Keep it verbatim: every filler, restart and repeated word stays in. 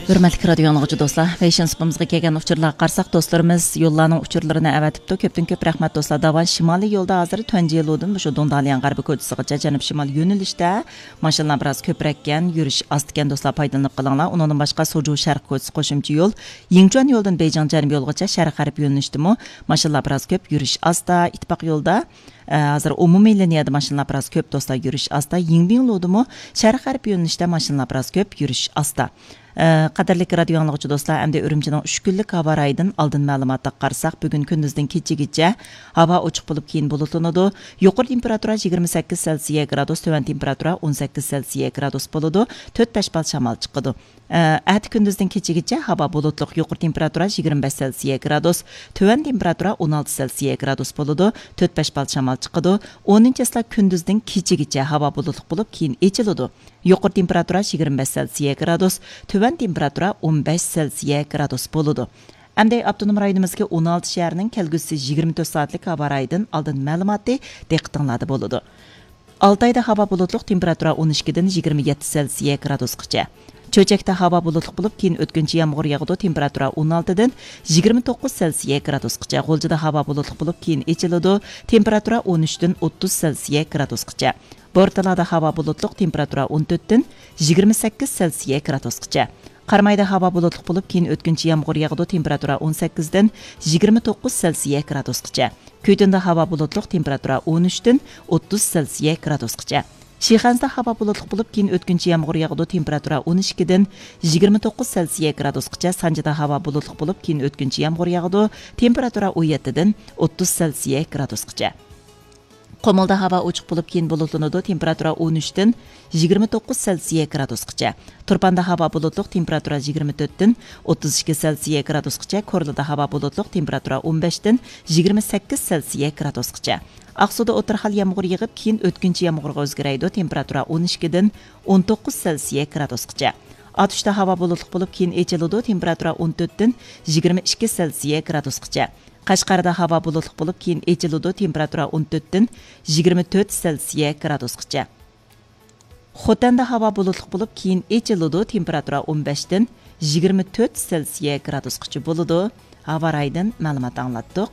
ھۆرمەتلىك رادىيو ئاڭلىغۇچى دوستلار، پەيشەنبە سۇپىمىزغا كەلگەن ئۇچۇرلارغا قارىساق، دوستلىرىمىز يوللارنىڭ ئۇچۇرلىرىنى ئەۋەتىپتۇ. كۆپتىن كۆپ رەھمەت دوستلار. داۋان شىمالىي يولدا ھازىر تۇەنجيېلۇدىن مۇشۇ دۇڭدالياڭ غەربىي كوچىسىغىچە جەنۇب شىمال يۆنىلىشتە ماشىنىلار بىراز كۆپرەككەن، يۈرۈش ئاستىكەن دوستلار، پايدىلىنىپ قېلىڭلار. ئۇنىڭدىن باشقا سوجۇ شەرق كوچىسى قوشۇمچە يول، يىڭچۇەن يولىدىن بېيجىڭ جەنۇب يولىغىچە شەرق غەرب يۆنىلىشتىمۇ ماشىنىلار بىراز كۆپ، يۈرۈش ئاستا. ئىتتىپاق يولدا ئە، ھازىر ئومۇمىي لىنىيەدە ماشىنىلار بىراز كۆپ دوستلار، يۈرۈش ئاستا. يىڭبىڭلۇدىمۇ شەرق غەرب يۆنىلىشتە ماشىنىلار بىراز كۆپ، يۈرۈش ئاستا. ئە، قەدىرلىك رادىيو ئاڭلىغۇچى دوستلار، ئەمدى ئۈرۈمچىنىڭ ئۈچ كۈنلۈك ھاۋا رايىدىن ئالدىن مەلۇماتىغا قارىساق، بۈگۈن كۈندۈزدىن كېچىگىچە ھاۋا ئوچۇق بولۇپ، كېيىن بۇلۇتلىنىدۇ. يۇقىرى تېمپېراتۇرا يىگىرمە سەككىز سېلسىيە گرادۇس، تۆۋەن تېمپېراتۇرا ئون سەككىز سېلسىيە گرادۇس بولىدۇ. تۆت بەش بال شامال چىقىدۇ. ئە، ئەتە كۈندۈزدىن كېچىگىچە ھاۋا بۇلۇتلۇق، يۇقىرى تېمپېراتۇرا يىگىرمە بەش سېلسىيە گرادۇس، تۆۋەن تېمپېراتۇرا ئون ئالتە سېلسىيە گرادۇس بولىدۇ، تۆت بەش بال شامال چىقىدۇ. ئونىنچى چىسلا كۈندۈزدىن كېچىگىچە ھاۋا بۇلۇتلۇق بولۇپ، كېيىن ئېچىلىدۇ. يۇقىرى تېمپېراتۇرا يىگىرمە بەش سېلسىيە گرادۇس، تۆۋەن تېمپېراتۇرا ئون بەش سېلسىيە گرادۇس بولىدۇ. ئەمدى ئاپتونوم رايونىمىزدىكى ئون ئالتە شەھەرنىڭ كەلگۈسى يىگىرمە تۆت سائەتلىك ھاۋا رايىدىن ئالدىن مەلۇماتى دىققىتىڭلاردا بولىدۇ. ئالتايدا ھاۋا بۇلۇتلۇق، تېمپېراتۇرا ئون ئىككىدىن يىگىرمە يەتتە سېلسىيە گرادۇسقىچە. چۆچەكتە ھاۋا بۇلۇتلۇق بولۇپ، كېيىن ئۆتكۈنچى يامغۇر ياغىدۇ، تېمپېراتۇرا ئون ئالتىدىن يىگىرمە توققۇز سېلسىيە گرادۇسقىچە. غۇلجىدا ھاۋا بۇلۇتلۇق بولۇپ، كېيىن ئېچىلىدۇ، تېمپېراتۇرا ئون ئۈچتىن ئوتتۇز سېلسىيە گرادۇسقىچە. بورتالادا ھاۋا بۇلۇتلۇق، تېمپېراتۇرا ئون تۆتتىن يىگىرمە سەككىز سېلسىيە گرادۇسقىچە. قارامايدا ھاۋا بۇلۇتلۇق بولۇپ، كېيىن ئۆتكۈنچى يامغۇر ياغىدۇ، تېمپېراتۇرا ئون سەككىزدىن يىگىرمە توققۇز سېلسىيە گرادۇسقىچە. كۈيتۇندە ھاۋا بۇلۇتلۇق، تېمپېراتۇرا ئون ئۈچتىن ئوتتۇز سېلسىيە گرادۇسقىچە. شىخەنزىدە ھاۋا بۇلۇتلۇق بولۇپ، كېيىن ئۆتكۈنچى يامغۇر ياغىدۇ، تېمپېراتۇرا ئون ئىككىدىن يىگىرمە توققۇز سېلسىيە گرادۇسقىچە. سانجىدا ھاۋا بۇلۇتلۇق بولۇپ، كېيىن ئۆتكۈنچى يامغۇر ياغىدۇ، تېمپېراتۇرا ئون يەتتىدىن ئوتتۇز سېلسىيە گرادۇسقىچە. قۇمۇلدا ھاۋا ئوچۇق بولۇپ، كېيىن بۇلۇتلىنىدۇ، تېمپېراتۇرا ئون ئۈچتىن يىگىرمە توققۇز سېلسىيە گرادۇسقىچە. تۇرپاندا ھاۋا بۇلۇتلۇق، تېمپېراتۇرا يىگىرمە تۆتتىن ئوتتۇز ئىككى سېلسىيە گرادۇسقىچە. كورلىدا ھاۋا بۇلۇتلۇق، تېمپېراتۇرا ئون بەشتىن يىگىرمە سەككىز سېلسىيە گرادۇسقىچە. ئاقسۇدا ئوتتۇرا خىل يامغۇر يېغىپ، كېيىن ئۆتكۈنچى يامغۇرغا ئۆزگىرەيدۇ، تېمپېراتۇرا ئون ئىككىدىن ئون توققۇز سېلسىيە گرادۇسقىچە. ئاتۇشتا ھاۋا بۇلۇتلۇق بولۇپ، كېيىن ئېچىلىدۇ، تېمپېراتۇرا ئون تۆتتىن يىگىرمە ئىككى سېلسىيە گرادۇسقىچە. قەشقەردە ھاۋا بۇلۇتلۇق بولۇپ، كېيىن ئېچىلىدۇ، تېمپېراتۇرا ئون تۆتتىن يىگىرمە تۆت سېلسىيە گرادۇسقىچە. خوتەندە ھاۋا بۇلۇتلۇق بولۇپ، كېيىن ئېچىلىدۇ، تېمپېراتۇرا ئون بەشتىن يىگىرمە تۆت سېلسىيە گرادۇسقىچە بولىدۇ. ھاۋا رايىدىن مەلۇمات ئاڭلاتتۇق.